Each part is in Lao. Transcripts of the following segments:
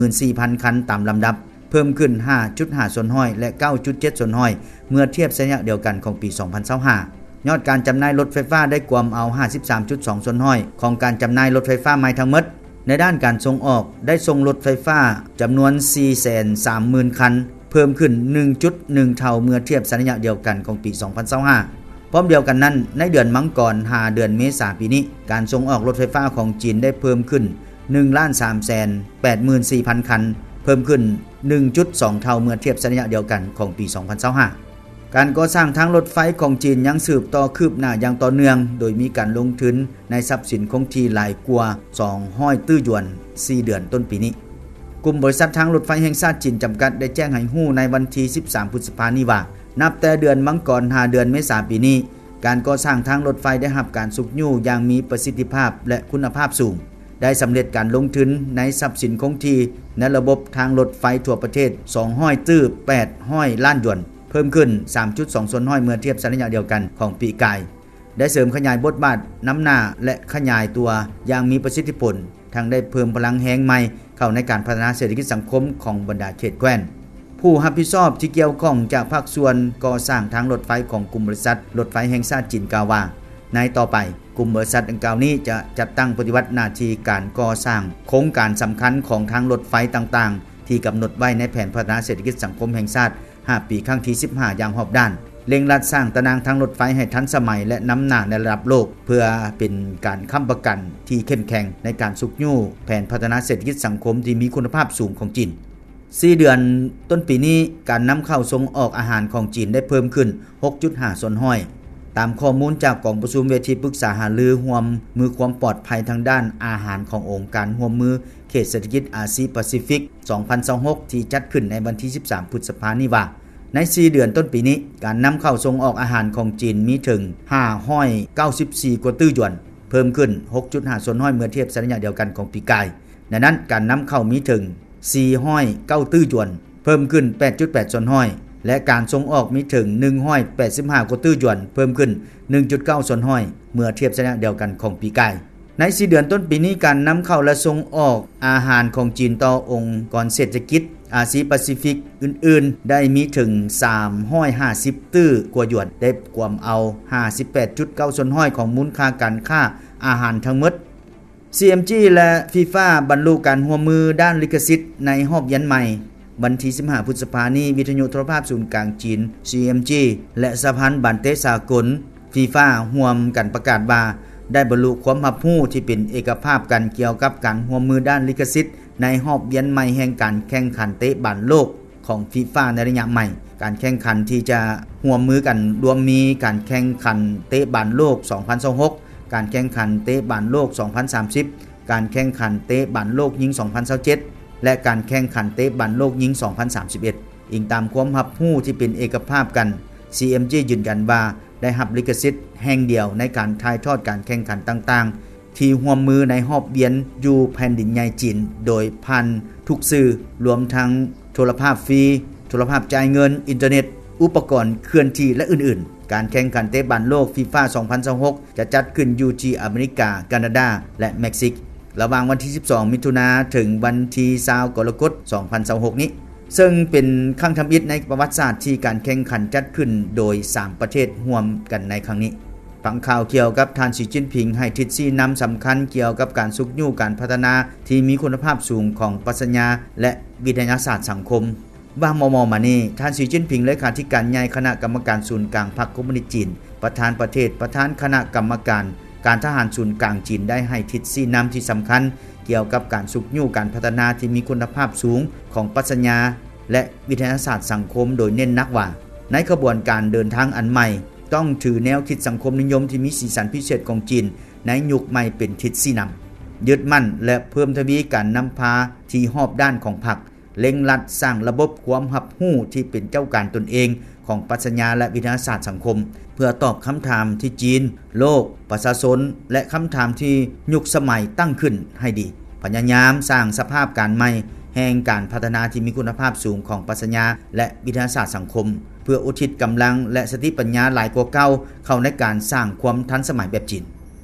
ໝື່ນສີ່ພັນຄັນຕາມລຳດັບ, ເພີ່ມຂຶ້ນຫ້າຈຸດຫ້າສ່ວນຮ້ອຍ ແລະ ເກົ້າຈຸດເຈັດສ່ວນຮ້ອຍ ເມື່ອທຽບໃສ່ໄລຍະດຽວກັນຂອງປີສອງພັນຊາວຫ້າ. ຍອດການຈຳໜ່າຍລົດໄຟຟ້າໄດ້ກວມເອົາຫ້າສິບສາມຈຸດສອງສ່ວນຮ້ອຍຂອງການຈຳໜ່າຍລົດໄຟຟ້າໃໝ່ທັງໝົດ. ໃນດ້ານການສົ່ງອອກ, ໄດ້ສົ່ງລົດໄຟຟ້າຈຳນວນສີ່ແສນສາມໝື່ນຄັນ, ເພີ່ມຂຶ້ນໜຶ່ງຈຸດໜຶ່ງເທົ່າເມື່ອທຽບໃສ່ໄລຍະດຽວກັນຂອງປີສອງພັນຊາວຫ້າ. ພ້ອມດຽວກັນນັ້ນ, ໃນເດືອນມັງກອນຫາເດືອນເມສາປີນີ້, ການສົ່ງອອກລົດໄຟຟ້າຂອງຈີນໄດ້ເພີ່ມຂຶ້ນໜຶ່ງລ້ານສາມແສນແປດໝື່ນສີ່ພັນຄັນ, ເພີ່ມຂຶ້ນໜຶ່ງຈຸດສອງເທົ່າເມື່ອທຽບໃສ່ໄລຍະດຽວກັນຂອງປີສອງພັນຊາວຫ້າ. ການກໍ່ສ້າງທາງລົດໄຟຂອງຈີນຍັງສືບຕໍ່ຄືບໜ້າຢ່າງຕໍ່ເນື່ອງ, ໂດຍມີການລົງທຶນໃນຊັບສິນຄົງທີ່ຫຼາຍກວ່າສອງຮ້ອຍຕື້ຢວນ ສີ່ເດືອນຕົ້ນປີນີ້. ກຸ່ມບໍລິສັດທາງລົດໄຟແຫ່ງຊາດຈີນຈຳກັດ ໄດ້ແຈ້ງໃຫ້ຮູ້ໃນວັນທີສິບສາມ ພຶດສະພານີ້ວ່າ, ນັບແຕ່ເດືອນມັງກອນຫາເດືອນເມສາປີນີ້, ການກໍ່ສ້າງທາງລົດໄຟໄດ້ຮັບການຊຸກຍູ້ຢ່າງມີປະສິດທິພາບ ແລະ ຄຸນນະພາບສູງ, ໄດ້ສຳເລັດການລົງທຶນໃນຊັບສິນຄົງທີ່ໃນລະບົບທາງລົດໄຟທົ່ວປະເທດສອງຮ້ອຍຕື້ແປດຮ້ອຍລ້ານຢວນ, ເພີ່ມຂຶ້ນສາມຈຸດສອງສ່ວນຮ້ອຍເມື່ອທຽບໃສ່ໄລຍະດຽວກັນຂອງປີກາຍ. ໄດ້ເສີມຂະຫຍາຍບົດບາດນຳໜ້າ ແລະ ຂະຫຍາຍຕົວຢ່າງມີປະສິດທິຜົນ, ທັງໄດ້ເພີ່ມພະລັງແຮງໃໝ່ເຂົ້າໃນການພັດທະນາເສດຖະກິດສັງຄົມຂອງບັນດາເຂດແຄວ້ນ. ຜູ້ຮັບຜິດຊອບທີ່ກ່ຽວຂ້ອງຈາກພາກສ່ວນກໍ່ສ້າງທາງລົດໄຟຂອງກຸ່ມບໍລິສັດລົດໄຟແຫ່ງຊາດຈີນກ່າວວ່າ, ໃນຕໍ່ໄປ, ກຸ່ມບໍລິສັດດັ່ງກ່າວນີ້ຈະຈັດຕັ້ງປະຕິບັດໜ້າທີ່ການກໍ່ສ້າງໂຄງການສຳຄັນຂອງທາງລົດໄຟຕ່າງໆ ທີ່ກຳນົດໄວ້ໃນແຜນພັດທະນາເສດຖະກິດສັງຄົມແຫ່ງຊາດ ຫ້າປີ ຄັ້ງທີສິບຫ້າ ຢ່າງຮອບດ້ານ, ເລັ່ງລັດສ້າງຕາໜ່າງທາງລົດໄຟໃຫ້ທັນສະໄໝ ແລະ ນຳໜ້າໃນລະດັບໂລກ, ເພື່ອເປັນການຄ້ຳປະກັນທີ່ເຂັ້ມແຂງໃນການຊຸກຍູ້ແຜນພັດທະນາເສດຖະກິດສັງຄົມທີ່ມີຄຸນນະພາບສູງຂອງຈີນ. ສີ່ເດືອນຕົ້ນປີນີ້, ການນຳເຂົ້າສົ່ງອອກອາຫານຂອງຈີນໄດ້ເພີ່ມຂຶ້ນ ຫົກຈຸດຫ້າສ່ວນຮ້ອຍ, ຕາມຂໍ້ມູນຈາກກອງປະຊຸມເວທີປຶກສາຫາລືຮ່ວມມືຄວາມປອດໄພທາງດ້ານອາຫານຂອງອົງການຮ່ວມມືເຂດເສດຖະກິດອາຊີປາຊີຟິກ ສອງພັນຊາວຫົກ ທີ່ຈັດຂຶ້ນໃນວັນທີສິບສາມ ພຶດສະພານີ້ວ່າ, ໃນສີ່ເດືອນຕົ້ນປີນີ້, ການນຳເຂົ້າສົ່ງອອກອາຫານຂອງຈີນມີເຖິງຫ້າຮ້ອຍເກົ້າສິບສີ່ກວ່າຕື້ຢວນ, ເພີ່ມຂຶ້ນຫົກຈຸດຫ້າສ່ວນຮ້ອຍເມື່ອທຽບໃສ່ໄລຍະດຽວກັນຂອງປີກາຍ. ໃນນັ້ນ, ການນຳເຂົ້າມີເຖິງສີ່ຮ້ອຍເກົ້າຕື້ຢວນ, ເພີ່ມຂຶ້ນແປດຈຸດແປດສ່ວນຮ້ອຍ ແລະ ການສົ່ງອອກມີເຖິງໜຶ່ງຮ້ອຍແປດສິບຫ້າກວ່າຕື້ຢວນ, ເພີ່ມຂຶ້ນໜຶ່ງຈຸດເກົ້າສ່ວນຮ້ອຍເມື່ອທຽບໃສ່ໄລຍະດຽວກັນຂອງປີກາຍ. ໃນສີ່ເດືອນຕົ້ນປີນີ້, ການນຳເຂົ້າ ແລະ ສົ່ງອອກອາຫານຂອງຈີນຕໍ່ອົງກອນເສດຖະກິດອາຊີປາຊີຟິກອື່ນໆ ໄດ້ມີເຖິງສາມຮ້ອຍຫ້າສິບຕື້ກວ່າຢວນ, ໄດ້ກວມເອົາຫ້າສິບແປດຈຸດເກົ້າສ່ວນຮ້ອຍຂອງມູນຄ່າການຄ້າອາຫານທັງໝົດ. ຊີ ເອັມ ຈີ ແລະ ຟີຟາ ບັນລຸການຮ່ວມມືດ້ານລິຂະສິດໃນຮອບວຽນໃໝ່. ວັນທີສິບຫ້າ ພຶດສະພານີ້, ວິທະຍຸໂທລະພາບສູນກາງຈີນ ຊີ ເອັມ ຈີ ແລະ ສະຫະພັນບານເຕະສາກົນ ຟີຟາ ຮ່ວມກັນປະກາດວ່າ ໄດ້ບັນລຸຄວາມຮັບຮູ້ທີ່ເປັນເອກະພາບກັນກ່ຽວກັບການຮ່ວມມືດ້ານລິຂະສິດໃນຮອບວຽນໃໝ່ແຫ່ງການແຂ່ງຂັນເຕະບານໂລກ ຂອງຟີຟາໃນໄລຍະໃໝ່. ການແຂ່ງຂັນທີ່ຈະຮ່ວມມືກັນລວມມີການແຂ່ງຂັນເຕະບານໂລກສອງພັນຊາວຫົກ, ການແຂ່ງຂັນເຕະບານໂລກສອງພັນສາມສິບ, ການແຂ່ງຂັນເຕະບານໂລກຍິງສອງພັນຊາວເຈັດ ແລະ ການແຂ່ງຂັນເຕະບານໂລກຍິງສອງພັນສາມສິບເອັດ. ອີງຕາມຄວາມຮັບຮູ້ທີ່ເປັນເອກະພາບກັນ, ຊີ ເອັມ ຈີ ຢືນຢັນວ່າໄດ້ຮັບລິຂະສິດແຫ່ງດຽວໃນການຖ່າຍທອດການແຂ່ງຂັນຕ່າງໆ ທີ່ຮ່ວມມືໃນຮອບວຽນຢູ່ແຜ່ນດິນໃຫຍ່ຈີນ ໂດຍຜ່ານທຸກສື່, ລວມທັງໂທລະພາບຟຣີ, ໂທລະພາບຈ່າຍເງິນ, ອິນເຕີເນັດ, ອຸປະກອນເຄື່ອນທີ່ ແລະ ອື່ນໆ. ການແຂ່ງຂັນເຕະບານໂລກ ຟີຟາ ສອງພັນຊາວຫົກ ຈະຈັດຂຶ້ນຢູ່ທີ່ອາເມລິກາ, ການາດາ ແລະ ເມັກຊິກ ລະຫວ່າງວັນທີສິບສອງ ມິຖຸນາ ເຖິງວັນທີຊາວ ກໍລະກົດ ສອງພັນຊາວຫົກນີ້, ເຊິ່ງເປັນຄັ້ງທຳອິດໃນປະຫວັດສາດທີ່ການແຂ່ງຂັນຈັດຂຶ້ນໂດຍສາມປະເທດຮ່ວມກັນໃນຄັ້ງນີ້. ຟັງຂ່າວກ່ຽວກັບທ່ານ ສີ ຈິ້ນຜິງ ໃຫ້ທິດຊີ້ນຳສຳຄັນກ່ຽວກັບການຊຸກຍູ້ການພັດທະນາທີ່ມີຄຸນນະພາບສູງຂອງປັດຊະຍາ ແລະ ວິທະຍາສາດສັງຄົມ. ວ່າມໍ່ໆມານີ້, ທ່ານ ສີ ຈິ້ນຜິງ ເລຂາທິການໃຫຍ່ຄະນະກຳມະການສູນກາງພັກຄອມມູນິດຈີນ, ປະທານປະເທດ, ປະທານຄະນະກຳມະການການທະຫານສູນກາງຈີນ ໄດ້ໃຫ້ທິດຊີ້ນຳທີ່ສຳຄັນກ່ຽວກັບການຊຸກຍູ້ການພັດທະນາທີ່ມີຄຸນນະພາບສູງຂອງປັດຊະຍາ ແລະ ວິທະຍາສາດສັງຄົມ, ໂດຍເນັ້ນໜັກວ່າ ໃນຂະບວນການເດີນທາງອັນໃໝ່, ຕ້ອງຖືແນວຄິດສັງຄົມນິຍົມທີ່ມີສີສັນພິເສດຂອງຈີນໃນຍຸກໃໝ່ເປັນທິດຊີ້ນຳ, ຍຶດໝັ້ນ ແລະ ເພີ່ມທະວີການນຳພາທີ່ຮອບດ້ານຂອງພັກ, ເລັ່ງລັດສ້າງລະບົບຄວາມຮັບຮູ້ທີ່ເປັນເຈົ້າການຕົນເອງຂອງປັດຊະຍາ ແລະ ວິທະຍາສາດສັງຄົມ ເພື່ອຕອບຄຳຖາມທີ່ຈີນ, ໂລກ, ປະຊາຊົນ ແລະ ຄຳຖາມທີ່ຍຸກສະໄໝຕັ້ງຂຶ້ນໃຫ້ດີ. ພະຍາຍາມສ້າງສະພາບການໃໝ່ແຫ່ງການພັດທະນາທີ່ມີຄຸນນະພາບສູງຂອງປັດຊະຍາ ແລະ ວິທະຍາສາດສັງຄົມ ເພື່ອອຸທິດກຳລັງ ແລະ ສະຕິປັນຍາຫຼາຍກວ່າເກົ່າເຂົ້າໃນການສ້າງຄວາມທັນສະໄໝແບບຈີນ.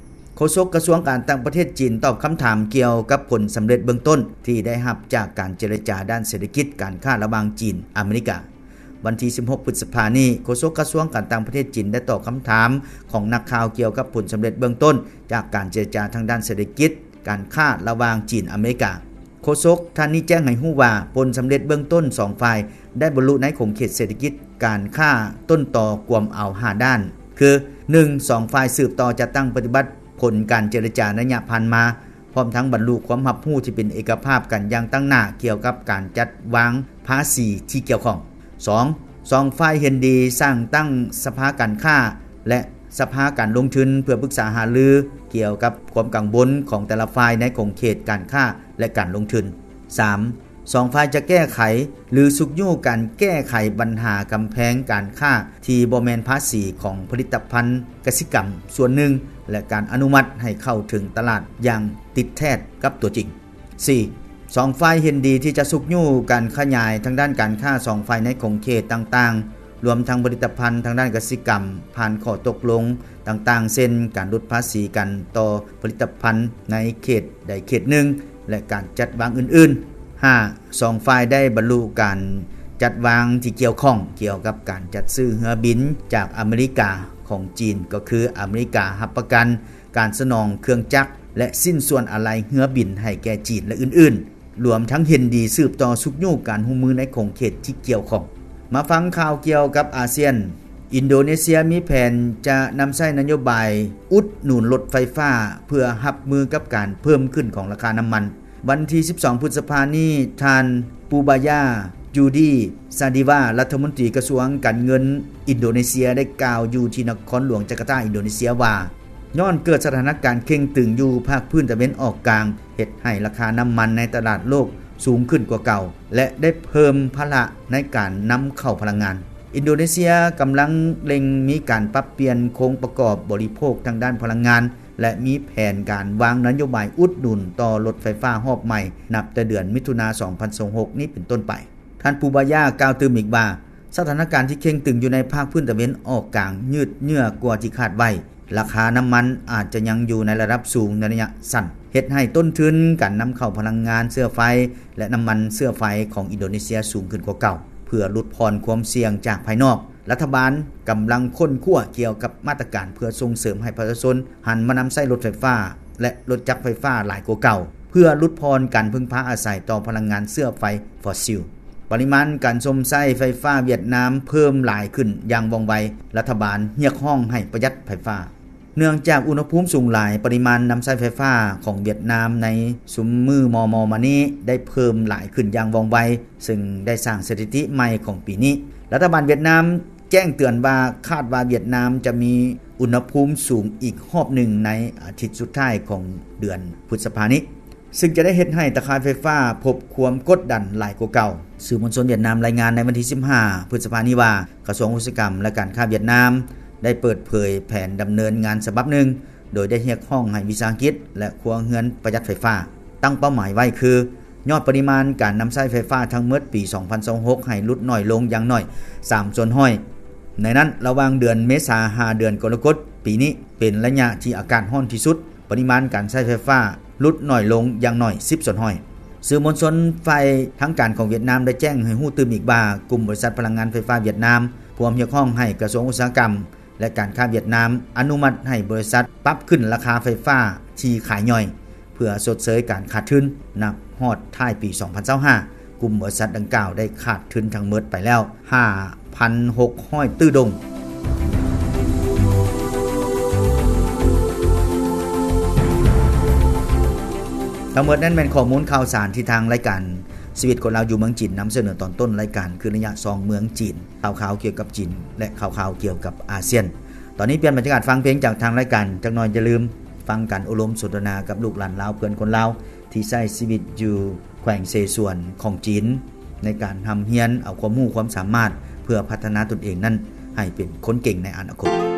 ໂຄສົກກະຊວງການຕ່າງປະເທດຈີນຕອບຄຳຖາມກ່ຽວກັບຜົນສຳເລັດເບື້ອງຕົ້ນທີ່ໄດ້ຮັບຈາກການເຈລະຈາດ້ານເສດຖະກິດການຄ້າລະຫວ່າງຈີນອາເມລິກາ. ວັນທີສິບຫົກ ພຶດສະພານີ້, ໂຄສົກກະຊວງການຕ່າງປະເທດຈີນໄດ້ຕອບຄຳຖາມຂອງນັກຂ່າວກ່ຽວກັບຜົນສຳເລັດເບື້ອງຕົ້ນຈາກການເຈລະຈາທາງດ້ານເສດຖະກິດການຄ້າລະຫວ່າງຈີນອາເມລິກາ. ໂຄສົກທ່ານນີ້ແຈ້ງໃຫ້ຮູ້ວ່າ ຜົນສຳເລັດເບື້ອງຕົ້ນສອງຝ່າຍໄດ້ບັນລຸໃນຂົງເຂດເສດຖະກິດການຄ້າຕົ້ນຕໍກວມເອົາຫ້າດ້ານ ຄື ໜຶ່ງ ສອງຝ່າຍສືບຕໍ່ຈັດຕັ້ງປະຕິບັດຜົນການເຈລະຈາໃນໄລຍະຜ່ານມາ ພ້ອມທັງບັນລຸຄວາມຮັບຮູ້ທີ່ເປັນເອກະພາບກັນຢ່າງຕັ້ງໜ້າກ່ຽວກັບການຈັດວາງພາສີທີ່ກ່ຽວຂ້ອງ. ສອງ ສອງຝ່າຍເຫັນດີສ້າງຕັ້ງສະພາການຄ້າ ແລະ ສະພາການລົງທຶນ ເພື່ອປຶກສາຫາລືກ່ຽວກັບຄວາມກັງວົນຂອງແຕ່ລະຝ່າຍໃນຂົງເຂດການຄ້າ ແລະ ການລົງທຶນ. ສາມ ສອງຝ່າຍຈະແກ້ໄຂ ຫຼື ຊຸກຍູ້ການແກ້ໄຂບັນຫາກຳແພງການຄ້າທີ່ບໍ່ແມ່ນພາສີຂອງຜະລິດຕະພັນກະສິກຳສ່ວນໜຶ່ງ ແລະ ການອະນຸມັດໃຫ້ເຂົ້າເຖິງຕະຫຼາດຢ່າງຕິດແທດກັບຕົວຈິງ. ສີ່ ສອງຝ່າຍເຫັນດີທີ່ຈະຊຸກຍູ້ການຂະຫຍາຍທາງດ້ານການຄ້າສອງຝ່າຍໃນຂົງເຂດຕ່າງໆ ລວມທັງຜະລິດຕະພັນທາງດ້ານກະສິກຳ ຜ່ານຂໍ້ຕົກລົງຕ່າງໆ ເຊັ່ນ ການຫຼຸດພາສີກັນຕໍ່ຜະລິດຕະພັນໃນເຂດໃດເຂດໜຶ່ງ ແລະ ການຈັດວາງອື່ນໆ. ຫ້າ ສອງຝ່າຍໄດ້ບັນລຸການຈັດວາງທີ່ກ່ຽວຂ້ອງກ່ຽວກັບການຈັດຊື້ເຮືອບິນຈາກອາເມລິກາຂອງຈີນ ກໍຄື ອາເມລິກາຮັບປະກັນການສະໜອງເຄື່ອງຈັກ ແລະ ຊິ້ນສ່ວນອາໄລເຮືອບິນໃຫ້ແກ່ຈີນ ແລະ ອື່ນໆ. ລວມທັງເຫັນດີສືບຕໍ່ຊຸກຍູ້ການຮ່ວມມືໃນຂົງເຂດທີ່ກ່ຽວຂ້ອງ. ມາຟັງຂ່າວກ່ຽວກັບອາຊຽນ. ອິນໂດເນເຊຍມີແຜນຈະນຳໃຊ້ນະໂຍບາຍອຸດໜູນລົດໄຟຟ້າ ເພື່ອຮັບມືກັບການເພີ່ມຂຶ້ນຂອງລາຄານ້ຳມັນ. ວັນທີສິບສອງ ພຶດສະພານີ້, ທ່ານ ປູບາຢາ ຈູດີ ຊາດີວາ ລັດຖະມົນຕີກະຊວງການເງິນອິນໂດເນເຊຍ ໄດ້ກ່າວຢູ່ທີ່ນະຄອນຫຼວງຈາກາຕາ ອິນໂດເນເຊຍວ່າ ຍ້ອນເກີດສະຖານະການເຄັ່ງຕຶງຢູ່ພາກພື້ນຕາເວັນອອກກາງ ເຮັດໃຫ້ລາຄານ້ຳມັນໃນຕະຫຼາດໂລກສູງຂຶ້ນກວ່າເກົ່າ ແລະ ໄດ້ເພີ່ມພາລະໃນການນຳເຂົ້າພະລັງງານ. ອິນໂດເນເຊຍກຳລັງເລັ່ງມີການປັບປ່ຽນໂຄງປະກອບບໍລິໂພກທາງດ້ານພະລັງງານ ແລະ ມີແຜນການວາງນະໂຍບາຍອຸດໜູນຕໍ່ລົດໄຟຟ້າຮອບໃໝ່ ນັບແຕ່ເດືອນມິຖຸນາ ສອງພັນຊາວຫົກນີ້ເປັນຕົ້ນໄປ. ທ່ານ ປູບາຢາ ກ່າວຕື່ມອີກວ່າ ສະຖານະການທີ່ເຄັ່ງຕຶງຢູ່ໃນພາກພື້ນຕາເວັນອອກກາງຍືດເຍື້ອກວ່າທີ່ຄາດໄວ້, ລາຄານ້ຳມັນອາດຈະຍັງຢູ່ໃນລະດັບສູງໃນໄລຍະສັ້ນ, ເຮັດໃຫ້ຕົ້ນທຶນການນຳເຂົ້າພະລັງງານເຊື້ອໄຟ ແລະ ນ້ຳມັນເຊື້ອໄຟຂອງອິນໂດເນເຊຍສູງຂຶ້ນກວ່າເກົ່າ. ເພື່ອຫຼຸດຜ່ອນຄວາມສ່ຽງຈາກພາຍນອກ, ລັດຖະບານກຳລັງຄົ້ນຄວ້າກ່ຽວກັບມາດຕະການເພື່ອສົ່ງເສີມໃຫ້ປະຊາຊົນຫັນມານຳໃຊ້ລົດໄຟຟ້າ ແລະ ລົດຈັກໄຟຟ້າຫຼາຍກວ່າເກົ່າ, ເພື່ອຫຼຸດຜ່ອນການເພິ່ງພາອາໄສຕໍ່ພະລັງງານເຊື້ອໄຟຟອດຊິລ. ປະລິມານການຊົມໃຊ້ໄຟຟ້າຫວຽດນາມເພີ່ມຫຼາຍຂຶ້ນຢ່າງວ່ອງໄວ, ລັດຖະບານຮຽກຮ້ອງໃຫ້ປະຢັດໄຟຟ້າ. ເນື່ອງຈາກອຸນຫະພູມສູງຫຼາຍ, ປະລິມານນຳໃຊ້ໄຟຟ້າຂອງຫວຽດນາມໃນຊຸມມື້ມໍ່ໆມານີ້ໄດ້ເພີ່ມຫຼາຍຂຶ້ນຢ່າງວ່ອງໄວ, ເຊິ່ງໄດ້ສ້າງສະຖິຕິໃໝ່ຂອງປີນີ້. ລັດຖະບານຫວຽດນາມແຈ້ງເຕືອນວ່າ ຄາດວ່າຫວຽດນາມຈະມີອຸນຫະພູມສູງອີກຮອບໜຶ່ງໃນອາທິດສຸດທ້າຍຂອງເດືອນພຶດສະພານີ້. ຊຶ່ງຈະໄດ້ເຮັດໃຫ້ຕາຂ່າຍໄຟຟ້າພົບຄວາມກົດດັນຫຼາຍກວ່າເກົ່າ. ສື່ມວນຊົນຫວຽດນາມລາຍງານໃນວັນທີສິບຫ້າ ພຶດສະພານີ້ວ່າ ກະຊວງອຸດສາຫະກຳ ແລະ ການຄ້າຫວຽດນາມ ໄດ້ເປີດເຜີຍແຜນດຳເນີນງານສະບັບໜຶ່ງ ໂດຍໄດ້ຮຽກຮ້ອງໃຫ້ວິສາຫະກິດ ແລະ ຄົວເຮືອນປະຢັດໄຟຟ້າ. ຕັ້ງເປົ້າໝາຍໄວ້ຄື ຍອດປະລິມານການນຳໃຊ້ໄຟຟ້າທັງໝົດປີສອງພັນຊາວຫົກໃຫ້ຫຼຸດໜ້ອຍລົງຢ່າງໜ້ອຍສາມສ່ວນຮ້ອຍ. ໃນນັ້ນ, ລະຫວ່າງເດືອນເມສາຫາເດືອນກໍລະກົດປີນີ້ ເປັນໄລຍະທີ່ອາກາດຮ້ອນທີ່ສຸດ. ປະລິມານການໃຊ້ໄຟຟ້າຫຼຸດໜ້ອຍລົງຢ່າງໜ້ອຍສິບສ່ວນຮ້ອຍ. ສື່ມວນຊົນຝ່າຍທາງການຂອງຫວຽດນາມໄດ້ແຈ້ງໃຫ້ຮູ້ຕື່ມອີກວ່າ ກຸ່ມບໍລິສັດພະລັງງານໄຟຟ້າຫວຽດນາມ ພວມຮຽກຮ້ອງໃຫ້ກະຊວງອຸດສາຫະກຳ ແລະ ການຄ້າຫວຽດນາມ ອະນຸມັດໃຫ້ບໍລິສັດປັບຂຶ້ນລາຄາໄຟຟ້າທີ່ຂາຍຍ່ອຍ ເພື່ອຊົດເຊີຍການຂາດທຶນ. ນັບຮອດທ້າຍປີສອງພັນຊາວຫ້າ ກຸ່ມບໍລິສັດດັ່ງກ່າວໄດ້ຂາດທຶນທັງໝົດໄປແລ້ວຫ້າພັນຫົກຮ້ອຍຕື້ດົງ. ທັງໝົດນັ້ນແມ່ນຂໍ້ມູນຂ່າວສານທີ່ທາງລາຍການຊີວິດຄົນລາວຢູ່ເມືອງຈີນນຳສະເໜີຕອນຕົ້ນລາຍການ ຄືໄລຍະສ່ອງເມືອງຈີນ, ຂ່າວຄາວກ່ຽວກັບຈີນ ແລະ ຂ່າວຄາວກ່ຽວກັບອາຊຽນ. ຕອນນີ້ປ່ຽນບັນຍາກາດຟັງເພງຈາກທາງລາຍການຈັກໜ່ອຍ, ຢ່າລືມຟັງການໂອ້ລົມສົນທະນາກັບລູກຫຼານລາວ ເພື່ອນຄົນລາວ ທີ່ໃຊ້ຊີວິດຢູ່ແຂວງເສສວນຂອງຈີນ ໃນການຮ່ຳຮຽນເອົາຄວາມຮູ້ຄວາມສາມາດ ເພື່ອພັດທະນາຕົນເອງນັ້ນໃຫ້ເປັນຄົນເກັ່ງໃນອະນາຄົດ.